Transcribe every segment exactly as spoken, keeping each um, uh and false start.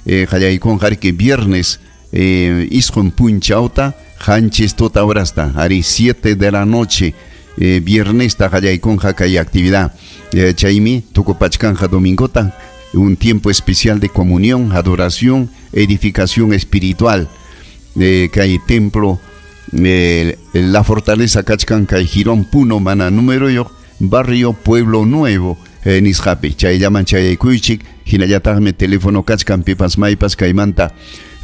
eh, qallaykunqa riki viernes eh, isqun punchawta qanchis tuta horasta ari siete de la noche eh, viernesta qallaykunqa kay actividad eh, chaymi tukupachkanja domingota un tiempo especial de comunión, adoración, edificación espiritual eh, kay templo eh, la fortaleza kachkan kay Jirón Puno mana número yo barrio Pueblo Nuevo eh, nisqapi chayllaman chayaykuychik hinallataqmi teléfono kachkan pipas maypas kaymanta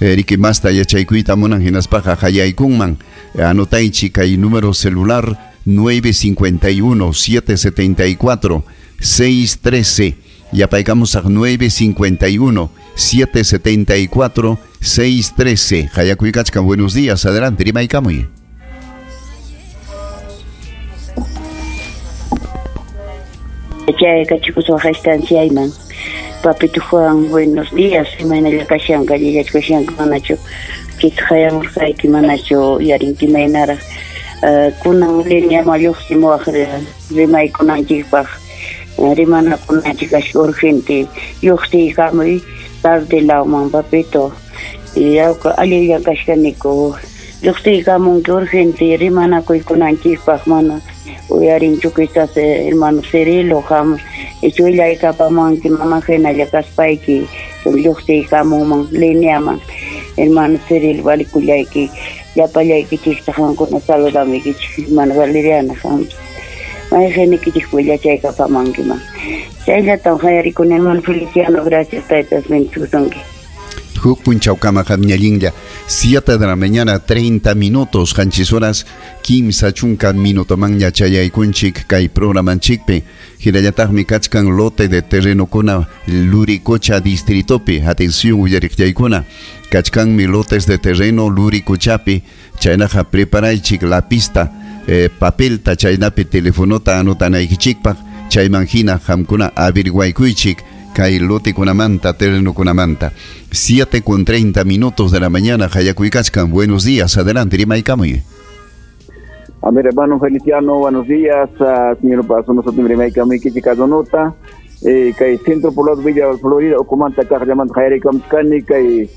eh, riki masta yachaykuyta munan hinaspaqa qayaykunman anotaychik kay número celular nueve cincuenta y uno, siete setenta y cuatro, seis trece yapaykamusaq nueve cincuenta y uno, siete setenta y cuatro, seis trece. Hayakuykachkan, buenos días, adelante, rimaykamuy. Chay kachikuswa estanciayman. Papito Juan, buenos días. Imaynalla kashanka, llillachkashanka manachu kitqayamurqayki manachu yarinki maynaraq. Kunan lineama lluqsimuwaq rimaykunanchikpaq rimanakunanchik kashka urgente lluqsiykamuy tarde lawman papito. Yawka allillan kashkaniku lluqsiykamunki urgente rimanakuykunanchikpaq mana uyarinchu quizás hermano Cirilo ham ichuillaykapamanki mama hinalla kaspayki lluqsiykamunman lineaman hermano Cirilo valikullayki llapallaykichikta qamkuna saludamiykichik hermano Valeriana ham mayqiniykichik willachaykapamankiman chayllatam qayarikuni hermano Feliciano, gracias taytas bendisusunki. Huk punchawkama qamñallinlla siete de la mañana treinta minutos qanchis horas kimsa chunka minutomanña chayaykunchik kay programanchikpi hinallataqmi kachkan lote de terrenokuna Luricocha distritopi. Atención uyariqllaykuna kachkanmi lotes de terreno Luricochapi chaynaqa preparaychik la pista eh, papelta chaynapi telefonota anotanaykichikpaq chayman hina qamkuna averiguaykuychik kay lotekunamanta terrenokunamanta. Siete con treinta minutos de la mañana, Hayakuykachkan, buenos días, adelante, rimaykamuy. A ver, hermano Feliciano, buenos días, uh, señor Paso, nosotros rimaykamuy kichikadonota, eh, kay Centro Poblado Villa Florida, okumanta kaq llamanta hayarikamchkani, kay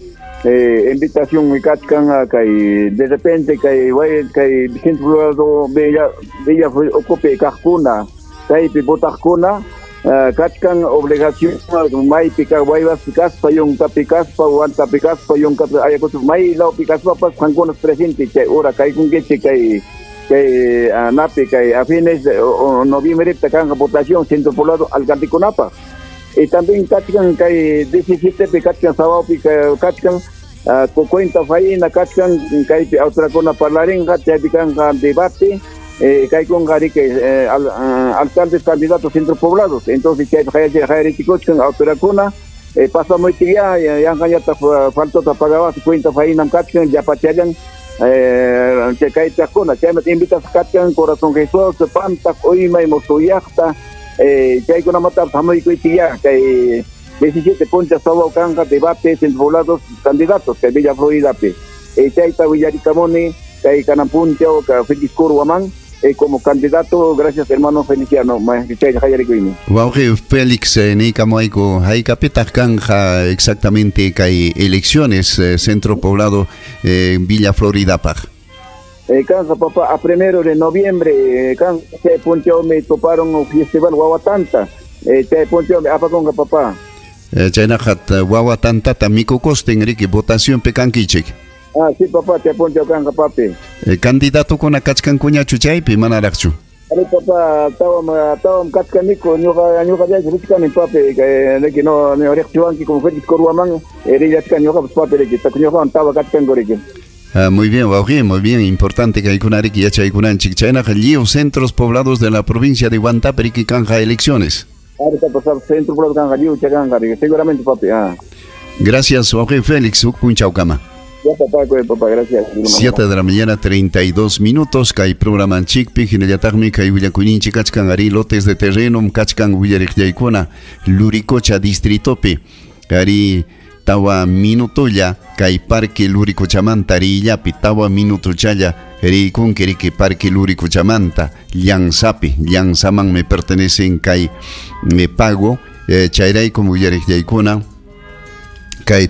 eh, invitación mikachkan, kay de repente, kay, kay Centro Poblado Villa, Villa Ocupe kaqkuna, kaypi botaqkuna, Uh, kachkan obligación maypi kaq waywaspi kaspa yunkapi kaspa wantapi kaspa yunkapi ayakuchu may lawpi kaspapas qamkunas presente chay hora kaykunkichik kay kay uh, napi kay a fines de noviembre kanqa votación Centro Poblado alcaldekunapaq y también kachkan kay diecisiete pi kachkan sawapi kachkan uh, cuenta faina kachkan kaypi awtrakuna parlarinqa chaypi kanqa debate. Eh, kaykunqa riki eh, al, uh, alcaldes candidatos centro poblados entonces chay hayarichikuchkan autorakuna eh, pasamuytik ya yanqañataq faltota pagawas cuenta fainam kachkan llapachallan eh, chay kaytaqkuna chaymanta invitasqa kachkan Corazón Jesús Pantaq Uymay Mosuyaqta eh, chaykunamatapas hamuykuychik ya kay diecisiete puncha sawaw kanqa debate centro poblados candidatos kay Villa Floridapi eh, chayta willarikamuni kay kanan punchaw ka Félix Curwaman Eh, como candidato, gracias hermano Feliciano. Wawqi Félix, eh, niykamuayku haykapitaq kanja exactamente kay elecciones eh, Centro Poblado eh, Villa Floridapaq. Eh, kanja papá, a primero de noviembre, eh, kanja chay punchawmi toparon festival Wawatanta, eh, chay punchawmi apakunqa papá. Eh, chaynaqat Wawatantata mikukustin riki votacionpi kankichik. Ah, sí, papá, te apunto kanja, papi. Eh, candidato kuna kachkankuñachu chaypi manaraqchu. Ari papá, tawam tawam kachkaniku, ñuqa ñuqa richkani papi, que no no riqchiwanki como Félix Corhuamán, rillachkani ñuqapas papi riki, ñuqawan tawa kachkanku riki. Ah, muy bien, wawqi, muy bien, importante que haykunariki yachaykunanchik. Chaynaqa lliw centros poblados de la provincia de Huantapi riki kanja elecciones. Ari papá, centro poblado kanja lliw chakanja riki, seguramente papi. Ah. Gracias, wawqi Félix, huk punchawkama. Ya, papá, papá, gracias. Siete de la mañana, treinta y dos minutos, kay programanchikpi, hinallataqmi kay willakuyninchik kachkan ari lotes de terreno, kachkan willariqllaykuna, Luricocha distritopi, ari tawa minutolla, kay parque Luricochamanta rillapi, tawa minutochalla, rikunki riki parque Luricochamanta, Llanzapi, Llanzaman me pertenecen kay me pago, eh, chayraykum willariqllaykuna, kay